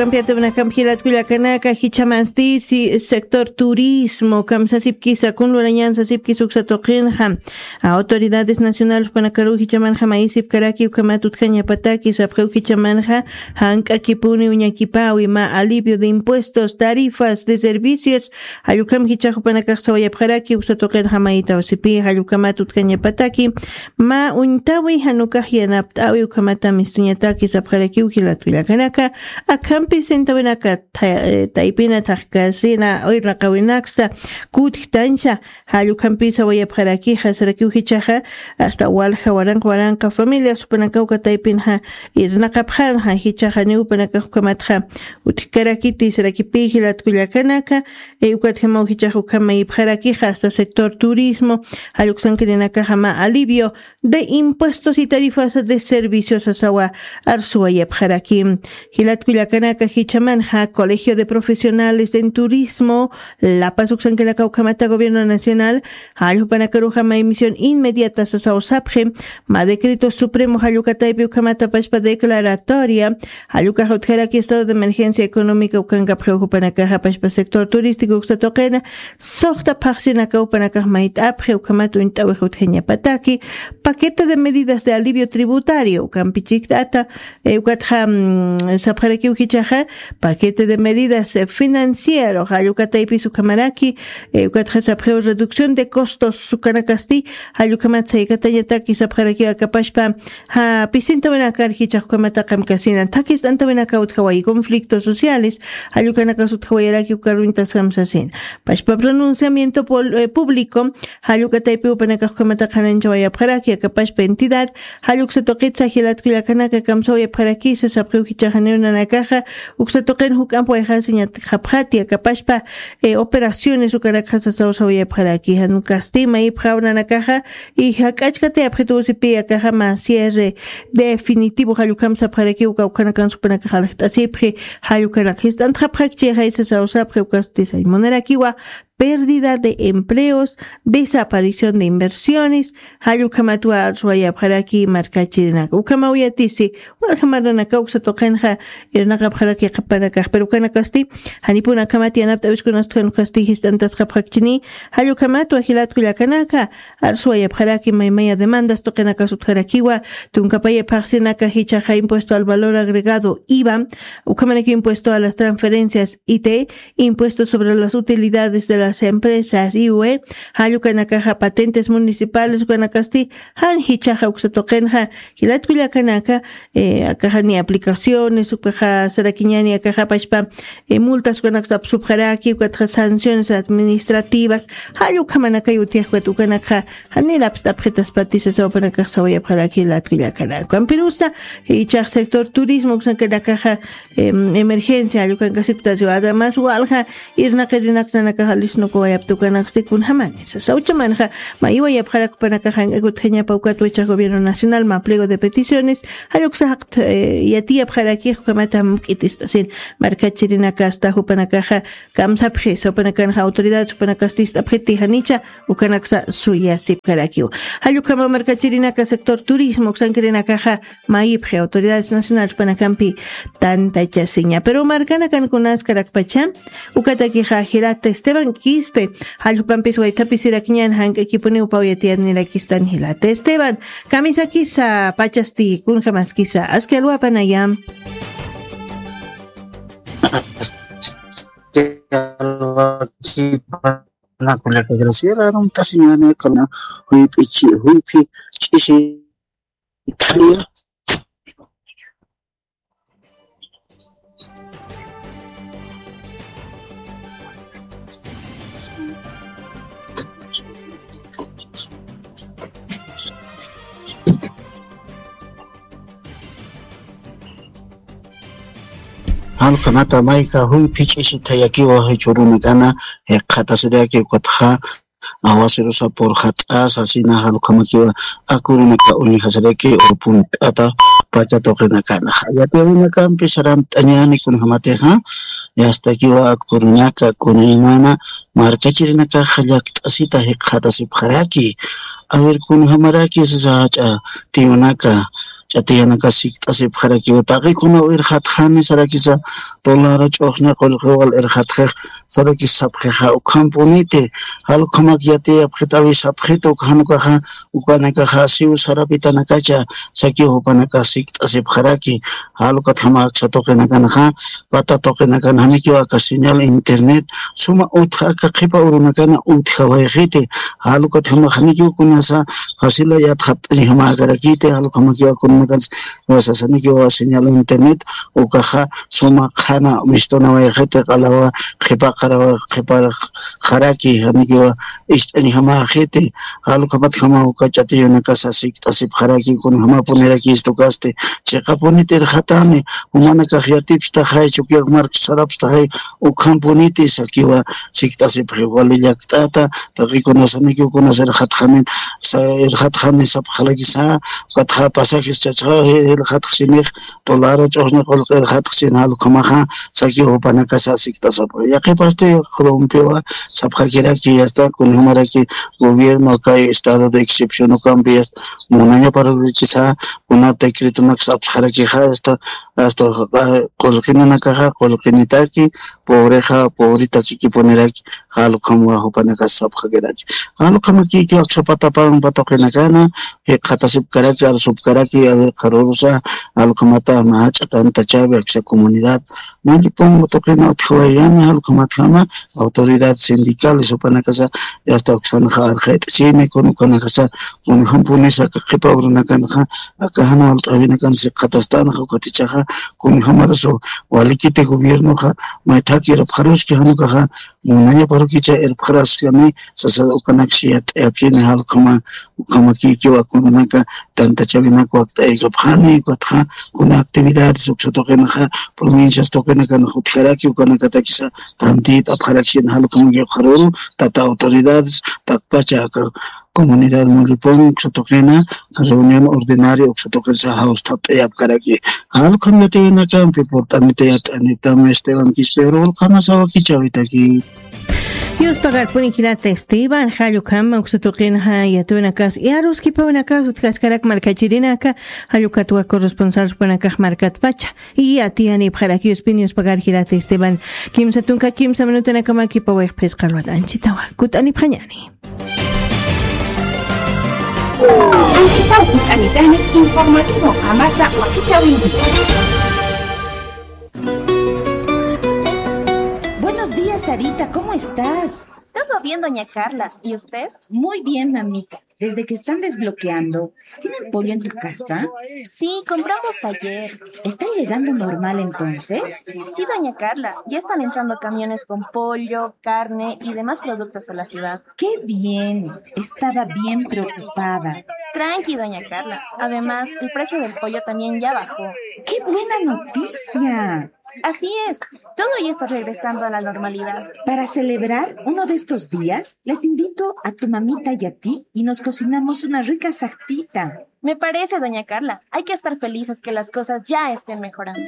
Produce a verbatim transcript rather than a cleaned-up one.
Kampiatawinakampi jilat kullakanaka, jichhamasti si sector turismo kamsasipkisa kun lurañansasipkis uksa tuqinxa. Autoridades nacionales jupanakaruw jichhamanxa mayisipkaraki ukhamat utjañapataki sapxiw jichhamanxa, jank'akipuni uñakipawi mä alivio de impuestos, tarifas de servicios, jallukam jichhax jupanakax sawayapxaraki uksa tuqinxa mayitaw sipi jallukamat utjañapataki, mä uñtawi janukax yanapt'awi ukhamata mistuñataki sapxarakiw jilat kullakanaka. Akhampi sintawinaka taypina thaqkasina irnaqawinaksa kutjtancha, jallukhampi sawayapxarakixa sarakiw jichhaxa, hasta walja waranqa waranqa familias jupanakaw kataypinxa irnaqapxanxa jichhaxa niw jupanakax ukhamatxa utjkarakiti sarakipi jilat kullakanaka. Ukatjamaw jichhax ukham mayipxarakixa hasta sector turismo jalluksankirinakaxa mä alivio de impuestos y tarifas de servicios sasawa arsuwayapxaraki. Jilat kullakanaka, jichhamanxa colegio de profesionales en turismo lapasuksankinaka ukhamata gobierno nacional jalljupanakaruxa may misión inmediata sasaw sapxi, mä decreto supremo jallukataypi ukhamata pashpa declaratoria jallukaxa utjaraki estado de emergencia económica ukankapxiw jupanakaxa pashpa sector turístico uksa tuqina suxta phaxsinaka jupanakax mayt'apxi ukhamat uñt'awix utjañapataki, paquete de medidas de alivio tributario ukampi chikt'ata. Ukatxa sapxarakiw jichhaxa paquete de medidas financiero jallukataypis ukhamaraki. Ukatxa sapxiw reducción de costos ukanakasti jallukhamat saykatañataki sapxarakiw akapashpa, ja pisintawinakar jichhax ukhamata qamkasina thakist'antawinaka utjawayi conflictos sociales jallukanakas utjawayaraki ukaruñtas kamsasina. Pashpa pronunciamiento público jallukataypi jupanakax ukhamata qhananchawayapxaraki akapashpa entidad jalluksa tuqitsa jilat kullakanaka kamsawayapxarakisa sapxiw jichhaxa niw nanakaxa uksa tuqin juk'amp wayxasiñatxapxati akapashpa operaciones ukanakxa sasaw sawayapxaraki jan kasti mayipxaw nanakaxa. Y jak'achkatayapxituw sipi akaxa mä cierre definitivo jallukham sapxarakiw kawkhanakan supanakax aljt'asipxi jallukanak jist'antxapxakchixay sasaw sapxi ukasti saymunarakiwa pérdida de empleos, desaparición de inversiones jallukhamatwa arsuwayapxaraki markachirinaka ukhamaw yatisi. Walja marranaka uksa tuqinxa irnaqapxaraki qhipanakax pero ukanakasti janipun akhamat yanapt'awiskunas utjan ukasti jist'antasqapxakchini. Jallukhamatwa jilat kullakanaka arsuwayapxaraki maymaya demandas tuqinakas utjarakiwa tunkapaya phaxsinaka jichhaxa impuesto al valor agregado iva, ukhamaraki impuesto a las transferencias it, impuesto sobre las utilidades de las empresas iue, jallukanakaxa patentes municipales ukanakasti jan jichhaxa uksa tuqinxa jilat kullakanaka. Akaxa ni aplicaciones ukaxa sarakiñani akaxa pashpa multas ukanaksa apsupxaraki ukatxa sanciones administrativas jallukhamanakay utjix ukat ukanakxa janir apst'apxitaspati sasaw jupanakax sawayapxaraki jilat kullakanaka ukampirusa jichhax sector turismo uksankanakaxa emergencia jallukankasipktasiwa además walja irnaqirinak nanakaxa lisnukuwayapta ukanaksti kunjamani sasaw uchamanxa mayiwayapxarak jupanakaxa jank'ak utjañapa ukatwa jichhax gobierno nacional mä pliego de peticiones jalluksa jaqt yatiyapxarakix ukhamata muk'it'ist'asin markachirinakasta jupanakaxa kamsapxisa jupanakanxa autoridades jupanakasti jist'apxiti janicha ukanaksa suyasipkarakiw. Jallukhama markachirinaka sector turismo uksankirinakaxa mayipxi autoridades nacionales jupanakampi tantachasiña pero markanakankunaskarakpacha ukatakixa jilata esteban quispe jalljupampis waythapisirakñan jank'akipuniw pawiyatiyanirakistan jilata esteban kamisakisa pachasti kunjamaskisa aski alwapanaya. Alwakipa nakulaka graciela arumtasiñani kuna juyp'ichi juyphi ch'isi thaya. Jalukhamata mayka juyphi ch'isi thayakiwa jichhürunakana jikxatasiraki ukatxa awasirusa purxat'asa sina jalukhamakiwa akurunaka uñjasiraki urpunt'ata pacha tuqinakana jayatiwinakampi sarantt'añani kunjamatixa yastakiwa akurunaka kunaymana markachirinakaxa llakt'asita jikxatasipxaraki. A ver kunjamaraki sasa jach'a tiyunaka ch'atiyanakas sikt'asipxarakiwa. Taqikunaw irxatxani sarakisa, tulara ch'uxña qullqiw wal irxatxix sarakis sapxixa, ukhampuniti, jalukhamak yatiyapxit'awi sapxita, uka jan ukaxa, ukanakaxa siw sarapitanakacha sakiw jupanakas sikt'asipxaraki. Jalukatjama aksa tuqinakanxa, pata tuqinakan janikiw aka señal internet suma utja aka qhipa urunakana utjawayxiti. Jalukatjama janikiw kunasa facila yatxat'añjamäkarakiti, jalukhamakiw kunakansa sasanikiw señal internet ukaxa suma qhana mistunawayxiti, q'alawa qhipa qarawa qhipa jaraki janikiw ist'añjamäxiti. Jalukhamatjama uka ch'atiyunakasa sikt'asipxaraki, kunjamapunirakistu kasti, chiqapuniti irxatani, jumanakax yatipstaxay, chukiyax mark sarapstaxay, ukhampuniti sakiwa sikt'asipxi. Wali llakt'ata, taqikunasaniki ukanas irxatxani, sa-, irxatxani sapxarakisa, ukatxa pasajes chachxa irxatxsinix, tulara ch'uxña qullqi irxatxsin, jalukhamaxa sakiw jupanakasa sikt'asipxi. Yaqhipasti Colombiawa sapxakiraki, hasta kunjamaraki gobierno kay estado de excepción ukampi, hasta munañaparurikisa, kuna decretonak sapxarakixa, hasta, hasta, ah, qullqinanakaxa qullqinitaki, pobrexa pobretakikipuniraki, jalukhamwa jupanakas sapxakiraki. Jalukhamakiki aksa patapan patuqinakana, jikxatasipkaraki, arsupkaraki, a ver, qharurusa, jalukhamata, mach'a tantachawi, aksa comunidad, mullipungu tuqina utjawayani, jalukhamatjama, autoridad sindicales, jupanakasa, yasta uksanxa arxayt'asini, kun ukanakasa, kunjampunisa, aka qhipa urunakanxa, aka jan walt'awinakan siqatastan, jukatichaxa, kunjamarasu, walikiti gobiernoxa, maythaki irpxaruski, jan ukaxa, munañaparukicha irpxaraskani, sasa ukanakshi yat'ayapxini, jalukhama, ukhamakikiwa, kunaka, tantachawinak wakt'aykapxani, ukatxa, kuna actividades, uksa tuqinaxa, provincias tuqinakan jutjaraki, ukanakatakisa, tantit'apxarakshin, jalukhamakiw qharuru, tata autoridades, taqpacha aka comunidad mulipun, uksa tuqina, aka reunión ordinaria, uksa tuqinsa jawst'apt'ayapkaraki. Jalukham yatiyunakampi, purt'anita yat'anita, Esteban Quispe, urulqamasa wakichawitaki. Yuspagarpuni jilata Esteban, jallukama uksa tuqinxa yatiyunakas, yaruskipawinakas, utjaskarak markachirinaka, jallukatwa corresponsal jupanakax markatpacha. Yatiyanipxaraki Yuspin, yuspagar jilata Esteban. Kimsa tunka kimsa minutanakamakipawayx phisqa ruwat anchitawa. Kut'anipxañani. Anchitaw kut'anitani informativo qamasa wakichawinki. Buenos días, Sarita, ¿cómo estás? Todo bien, doña Carla. ¿Y usted? Muy bien, mamita. Desde que están desbloqueando, ¿tienen pollo en tu casa? Sí, compramos ayer. ¿Está llegando normal entonces? Sí, doña Carla, ya están entrando camiones con pollo, carne y demás productos a la ciudad. ¡Qué bien! Estaba bien preocupada. Tranqui, doña Carla. Además, el precio del pollo también ya bajó. ¡Qué buena noticia! Así es, todo ya está regresando a la normalidad. Para celebrar uno de estos días, les invito a tu mamita y a ti y nos cocinamos una rica sartita. Me parece, doña Carla, hay que estar felices que las cosas ya estén mejorando.